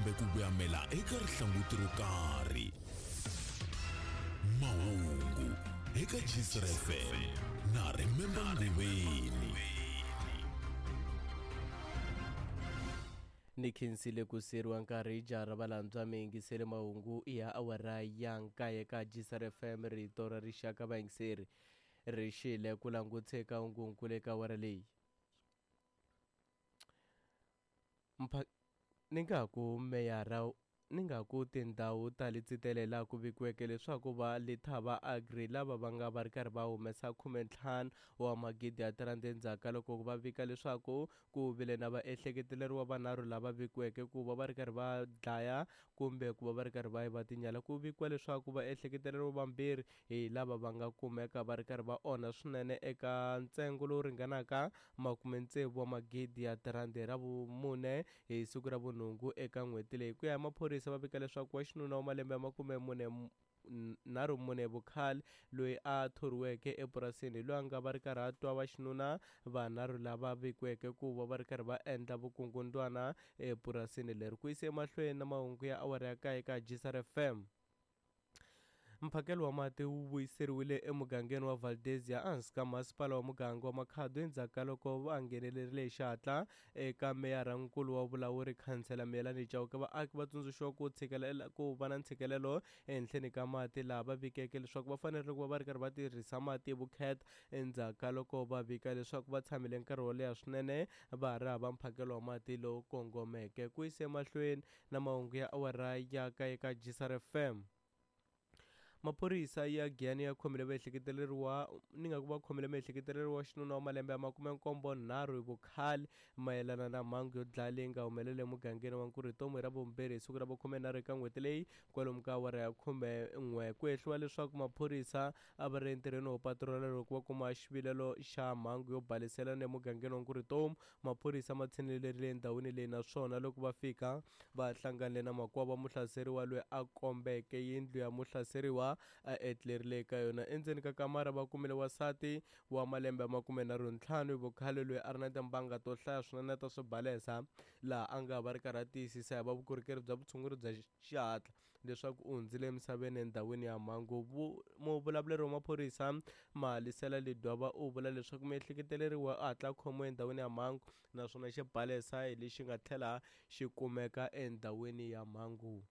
kumbe ku voyamela eka rihlanguti ro karhi. Mahungu eka Gcr FM na Remember Nguveni. Ni khensile ku siyeriwa nkarhi jaha ra valandzwa mi yingisele mahungu ya awara ya nkaye ka Gcr FM rito ra rixaka vayingiseri ri xile ku langutse ka hungunkulu eka awara leyi. Mpha ni nga ku meyara ni nga ku tindhawu ta Letsitele laha ku vikiweke leswaku va Lethaba Agri lava va nga va ri karhi va humesa 15 wa magidi ya tirandi endzhaku ka loko va vika leswaku ku vile na vaehleketeleriwa vanharhu lava vikiweke ku va va ri karhi va dlaya kumbe ku va va ri karhi va yiva tinyala. Ku vikiwa leswaku vaehleketeleriwa vambirhi hi lava va nga kumeka va ri karhi va onha swinene eka ntsengo lowu ringanaka makumetsevu wa magidi ya tirandi ra vumune hi siku ra vunhungu eka n'hweti leyi. Ku ya hi maphorisa va vika leswaku wa xinuna wa malembe ya makume mune nharhu mune vukhale loyi a thoriweke epurasini hi loyi a nga va ri karhi a twa va xinuna vanharhu lava vikiweke ku va va ri karhi va endla vukungundwana epurasini leri. Ku yise emahlweni na mahungu ya awara ya kaye ka Gsr FM. Mphakelo wa mati wu vuyiseriwile emugangeni wa Valdezia ehansi ka masipala wa muganga wa Makhado endzhaku ka loko va nghenelerile hi xihatla eka meyara-nkulu wa vulawuri khansela Miyelani Chauke. Vaaki va tsundzuxiwa ku tshikelela ku va na ntshikelelo ehenhleni ka mati laha va vikeke leswaku va fanerile ku va va ri karhi va tirhisa mati hi vukheta endzhaku ka loko va vika leswaku va tshamile nkarhi wo leha swinene va ha ri hava mphakelo wa mati lowu kongomeke. Ku yise emahlweni na mahungu ya awara ya kaye ka Gsr FM. Maphorisa ya Giyani ya khomile vaehleketeleriwa ni nga ku va khomile muehleketeleriwa wa xinuna wa malembe ya 73 hi vukhale mayelana na mhangu yo dlaya leyi nga humelela emugangeni wa Nkurhitomo hi Ravumbirhi hi siku ra vukhumenharhu eka n'hweti leyi kwalomu ka awara ya 11. Ku hehliwa leswaku maphorisa a va ri entirhweni wo patrola loko va kuma xivilelo xa mhangu yo baliselana emugangeni wa Nkurhitomo. Maphorisa ma tshinelerile endhawini leyi naswona loko va fika va hlanganile na makwavo wa muhlaseriwa loyi a kombeke yindlu ya muhlaseriwa a etlerile eka yona. Endzeni ka kamara va kumile wansati wa malembe ya 35 hi vukhale loyi a ri na timbanga to hlaya swinene ta swibalesa laha a nga va ri karhi a tiyisisa hi va vukorhokeri bya vutshunguri bya xihatla leswaku u hundzile emisaveni endhawini ya mhangu. Muvulavuleri wa maphorisa Malisela Ledwaba u vula leswaku muehleketeleriwa a hatla khomiwa endhawini ya mhangu naswona xibalesa hi lexi nga tlhela xi kumeka endhawini ya mhangu.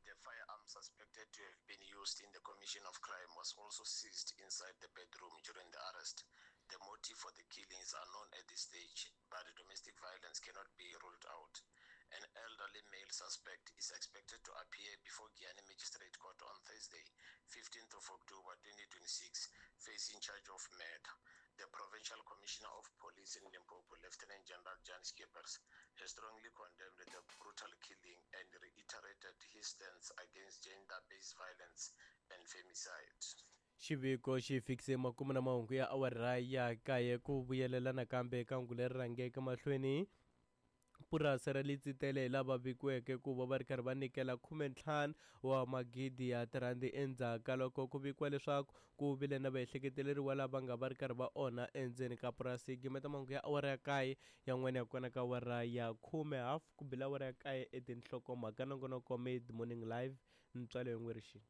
The firearm suspected to have been used in the commission of crime was also seized inside the bedroom during the arrest. The motive for the killing is unknown at this stage, but domestic violence cannot be ruled out. An elderly male suspect is expected to appear before Giyani Magistrate Court on Thursday, 15th of October 2026, facing charge of murder. The Provincial Commissioner of Police in Limpopo, Lieutenant General Jan Schippers, has strongly condemned the brutal killing and reiterated his stance against gender-based violence and femicide. Xiviko xi fikise makumu na mahungu ya awara ya kaye ku vuyelela nakambe eka hungu leri rhangeke mahlweni. Purasi ra Letsitele hi lava vikiweke ku va va ri karhi va nyikela 15 wa magidi ya tirandi endzhaku ka loko ku vikiwa leswaku ku vile na vaehleketeleriwa lava nga va ri karhi va onha endzeni ka purasi. Gimeta mahungu ya awara ya kaye yan'wana ya kona ka awara ya khume hafu ku bile awara ya kaye etinhlokomhaka nongonoko Mid Morning Live ntswalo yin'we rixini.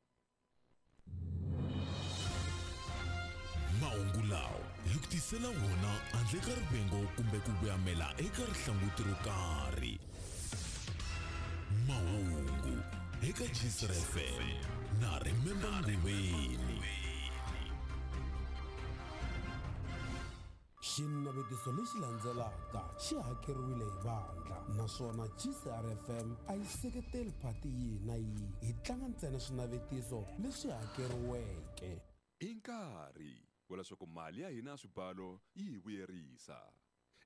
Mahungu lawa hi ku tisela wona handle ka rivengo kumbe ku voyamela eka rihlanguti ro karhi. Mahungu eka Gsr FM na Remember Nguveni. Xinavetiso lexi landzelaka xi hakeriwile hi vandla naswona GCR FM a yi seketeli phati yihi na yihi, hi tlanga ntsena swinavetiso leswi hakeriweke. I nkarhi wa leswaku mali ya hina ya swibalo yi hi vuyerisa.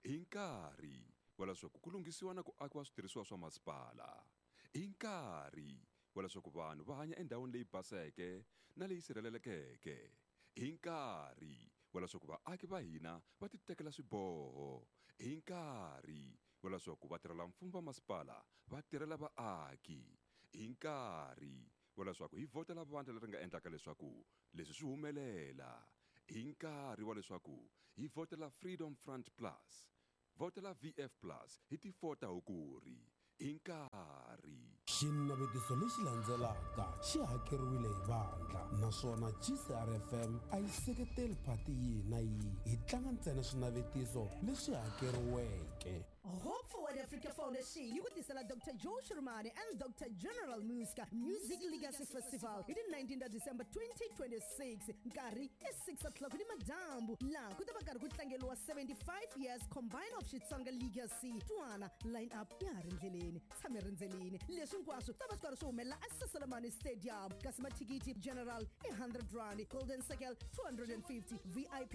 I nkarhi wa leswaku ku lunghisiwa na ku akiwa switirhisiwa swa masipala. I nkarhi wa leswaku vanhu va hanya endhawini leyi baseke na leyi sirhelelekeke. I nkarhi wa leswaku vaaki va hina va titekela swiboho. I nkarhi wa leswaku vatirhelamfumo va masipala va tirhela vaaki. I nkarhi wa leswaku hi vhotela vandla leri nga endlaka leswaku leswi swi humelela. I nkarhi wa leswaku hi vhotela Freedom Front Plus. Vhotela VF Plus hi ti 4 ta Hukuri. Hi nkarhi. Xinavetiso lexi landzelaka xi hakeriwile hi vandla naswona GCRFM a yi seketeli phati yihi na yihi. Hi tlanga ntsena swinavetiso leswi hakeriweke. Hope Forward Africa Foundation yi ku tisela Dr. Joe Shirmani and Dr. General Muska Music Legacy Festival hi ti 19 ta December 2026, nkarhi i 6 o'clock ni madyambu, laha ku ta va karhi ku tlangeriwa 75 years combine of Xitsonga Legacy. Twana line up ya ha ri ndleleni, tshame rindzelini. Leswi hinkwaswo ta va swi karhi swi humelela eSaselamani Stadium, kasi mathikithi general i 100 rand, golden circle 250, VIP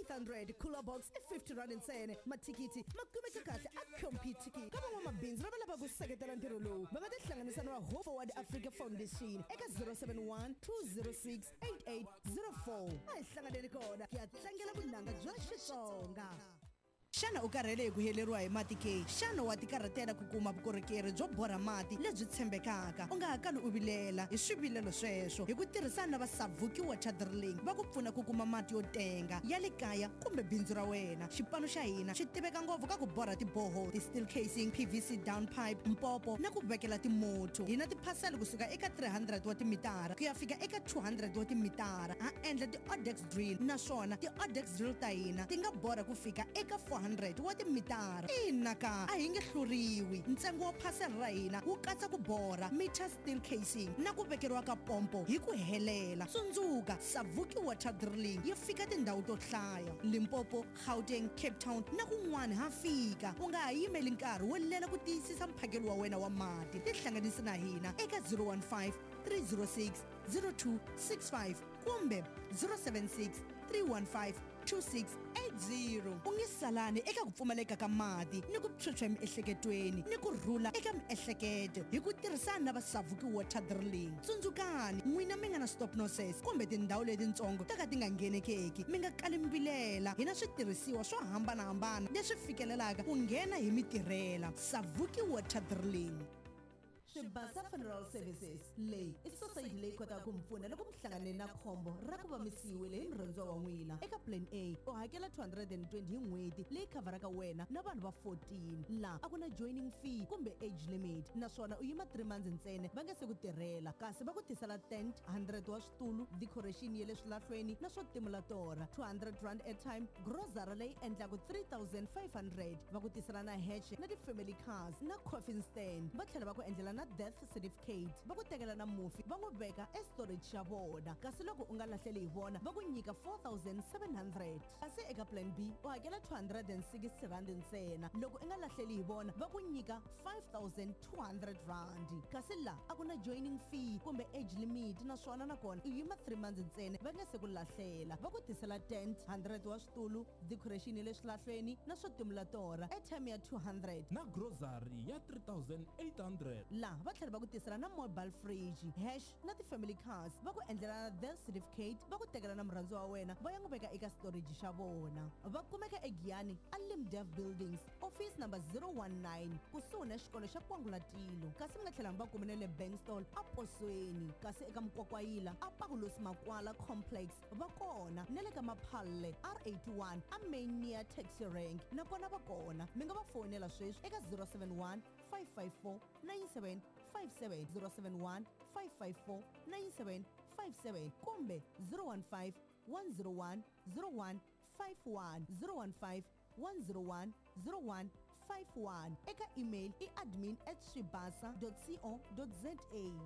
800, cooler box i 50 rand ntsena. Mathikithi ma kumeka kahle a Computicket. Ka van'wamabindzu lava lavaka ku seketela ntirho lowu, va nga tihlanganisa na va Hope Forward Africa Foundation eka 071 206 8804. A hi hlanganeni kona ku ya tlangela vunanga bya Xitsonga. Xana u karhele hi ku heleriwa hi mati ke? Xana wa tikarhatela ku kuma vukorhokeri byo borha mati lebyi tshembekaka? U nga ha kali u vilela hi swivilelo sweswo. Hi ku tirhisana na va Savuki Water Drilling, va ku pfuna ku kuma mati yo tenga ya le kaya kumbe bindzu ra wena. Xipano xa hina xi tiveka ngopfu ka ku borha tiboho, ti-steel casing, PVC down pipe, mpopo na ku vekela timotho. Hi na tiphasela kusuka eka 300 wa timitara ku ya fika eka 200 wa timitara. Ha endla ti-odex drill, naswona ti-odex drill ta hina ti nga borha ku fika eka 400 wa timitara. Ina ka, a hi nge hluriwi. Ntsengo wa phasela ra hina wu katsa ku borha meter, steel casing na ku vekeriwa ka pompo hi ku helela. Tsundzuka, Savuki Water Drilling yi fika tindhawu to hlaya: Limpopo, Gauteng, Cape Town na kun'wana ha fika. U nga ha yimeli nkarhi wo lela ku tiyisisa mphakelo wa wena wa mati. Tihlanganisi na hina eka 015 306 0265 kumbe 076 315 2680. U nge salani eka ku pfumaleka ka mati ni ku phyuphya emiehleketweni ni ku rhula eka miehleketo hi ku tirhisana na va Savuki Water Drilling. Tsundzukani, n'wina mi nga na stop nonsense kumbe tindhawu letitsongo to ka ti nga nghenekeki, mi nga kali mbilela. Hi na switirhisiwa swo hambanahambana leswi fikelelaka ku nghena hi mitirhela. Savuki Water Drilling. Swibasa Funeral Services, leyi i society leyi kotaka ku mi pfuna loko mi hlangane na khombo ra ku va mi siyiwile hi murhandziwa wa n'wina. Eka plan A u hakela 220 hi n'hweti, leyi khavharaka wena na vanhu va 14. Laha a ku na joining fee kumbe age limit, naswona u yima 3 months ntsena va nga se ku tirhela, kasi va ku tisela tent, 100 wa switulu, decoration ya le swilahlweni na swo timula torha, 200 rand airtime, grocery leyi endlaku 3500. Va ku tisela na hatch na ti-family cars na coffin stand. Va tlhela va ku endlela na death certificate, va ku tekela na mufi va n'wi veka estorage xa vona. Kasi loko u nga lahleli hi vona, va ku nyika 4700. Kasi eka plan B u hakela 260 rand ntsena. Loko u nga lahleli hi vona, va ku nyika 5200 rand. Kasi la a ku na joining fee kumbe age limit, naswona nakona u yima 3 months ntsena va nga se ku lahlela. Va ku tisela tent, 100 wa switulu, decoration ya le swilahlweni na swo timula torha, airtime ya 200 na grocery ya 3800. Laha va tlhela va ku tisela na mobile fridge, hash na ti-family cars. Va ku endlela na death certificate, va ku tekela na murhandziwa wa wena va ya n'wi veka eka storage xa vona. Va kumeka eGiyani, aLimdev Buildings, office number 019, kusuhi na xikolo xa Kwangulatilo. Kasi mi nga tlhela mi va kumene le Bankstall aposweni, kasi eka Mkwakwayila aPakulosi Makwala Complex va kona, na le ka Maphalle R81 a main near taxi rank nakona va kona. Mi nga va fonela sweswi eka 071 554 9757, 071 554 9757 kumbe 015 101 0151, 015 101 0151. Eka email i admin@swibasa.co.za,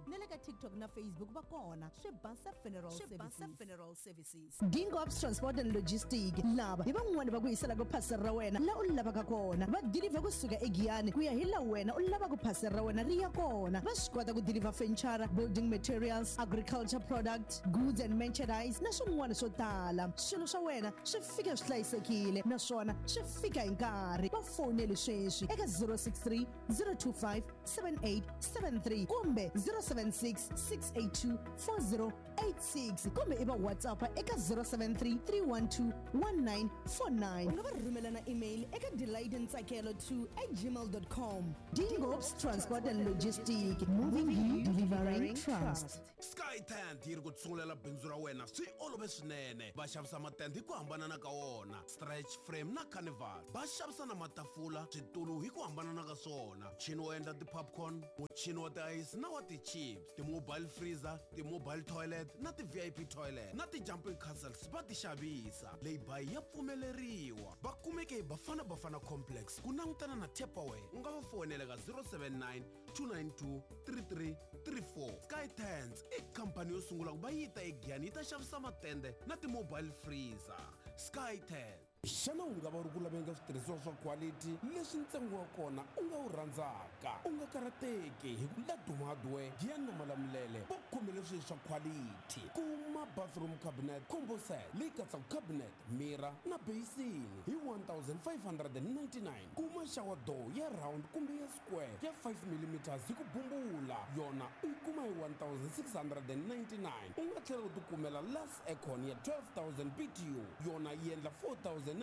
na le ka TikTok na Facebook va kona, Swibasa Funeral Services. Funeral Services. Dingops Transport and Logistic, lava hi van'wani va ku yiselaka phasela ra wena la u lavaka kona. Va deliver kusuka eGiyani ku ya hi la wena u lavaka phasela ra wena ri ya kona. Va swi kota ku deliver furniture, building materials, agriculture product, goods and merchandise na swin'wana swo tala. Swilo swa wena swi fika swi hlayisekile naswona swi fika hi nkarhi. Va foneli sweswi eka 063 025 7873 kumbe 076 682 4086 kumbe i va WhatsApp eka 073 312 1949. U nga va rhumela na email eka delightntsakelo2@gmail.com. Dingops Transport and Logistic, moving you, delivering trust. Sky Sky Tent yi ri ku tshungulela bindzu ra wena swi olove swinene. Va xavisa matende hi ku hambanana ka wona, stretch frame na carnival. Va xavisa na matafula, switulu hi ku hambanana ka swona, muchini wo endla ti-popcorn, muchini wa tiayisi na wa ti-chips, ti-mobile freezer, ti-mobile toilet na ti-VIP toilet na ti-jumping castles va ti xavisa. Lay-by ya pfumeleriwa. Va kumeke hi Bafana Bafana Complex ku langutana na Tupperware. U nga va foyinela ka 079 292 3334. Sky Tents i khampani yo sungula ku va yi ta eGiyani yi ta xavisa matende na ti-mobile freezer. Sky Tent. Xana u nga va u ri ku laveni ka switirhisiwa swa quality leswi ntsengo wa kona u nga wu rhandzaka? U nga karhateki hi ku Laduma Hardware, Giyani na Malamulele va khomele swilo swa quality. Kuma bathroom cabinet combo set leyi katsaka cabinet, mirror na basin hi 1599. Kuma shower door ya round kumbe ya square ya 5 mm hi ku bumbula, yona u yi kuma hi 1699. U nga tlhela u tikumela Last Aircon ya 12000 BTU, yona yi endla 4999.90.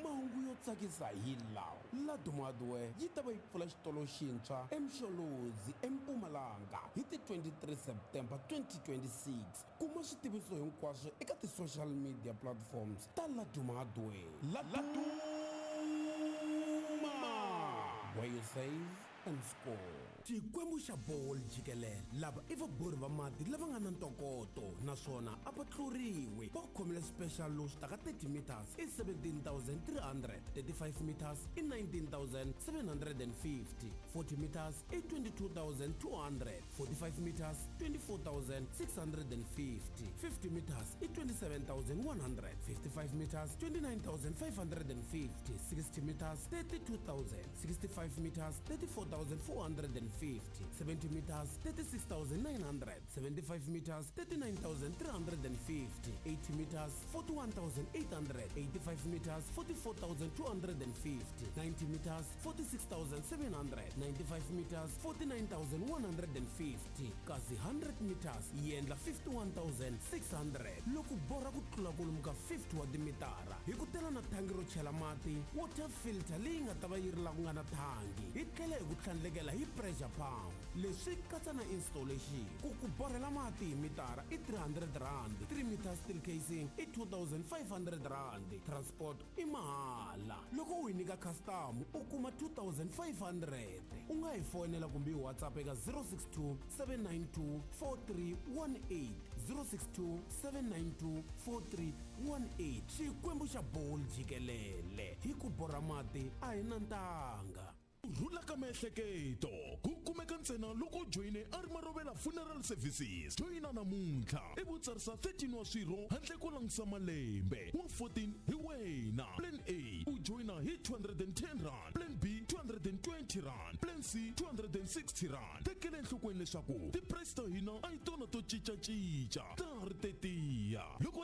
Mahungu yo tsakisa hi lawa: Laduma Hardware yi ta va yi pfula xitolo xintshwa eMsholozi eMpumalanga hi ti 23 September 2026. Kuma switiviso hinkwaswo eka ti-social media platforms ta Laduma Hardware. Laduma, where you save and score. Xikwembu xa bolo jikelele, lava i vabori va mati lava nga na ntokoto naswona a va tluriwi. Va khomile special lowu swi taka 30 meters i 17300, 35 meters i 19750, 40 meters i 22200, 45 meters 24650, 50 meters i 27100, 55 meters 29550, 60 meters 32000, 65 meters 34450, 70 meters 36900, 75 meters 39350, 80 meters 41800, 85 meters 44250, 90 meters 46700, 95 meters 49150, kasi 100 meters yi endla 51600. Loko borha ku tlula kwalomu ka 50 wa timitara, hi ku tela na thangi ro chela mati, water filter leyi nga ta va yi ri la ku nga na thangi, hi tlhela hi ku tlhandlekela hi pressure pump. Leswi katsa na installation. Ku ku borhela mati hi mitara i 300 rand, 3 meter steel casing i 2500 rand, transport i mahala. Loko u hi nyika custom u kuma 2500. U nga hi foyinela kumbe hi WhatsApp eka 062 792 4318, 062 792 4318. Xikwembu xa bolo jikelele, hi ku borha mati a hi na ntanga. Ku rhula ka miehleketo ku kumeka ntsena loko u joyine a ri Marovela Funeral Services. Joyina namuntlha ivi u tsarisa 13 wa swirho handle ko langutisa malembe wa 14 hi wena. Plan A u joyina hi 210 rand, plan B 220 rand, plan C 260 rand. Tekela enhlokweni leswaku ti-price ta hina a hi tona to cincacinca, ta ha ri tetiya loko.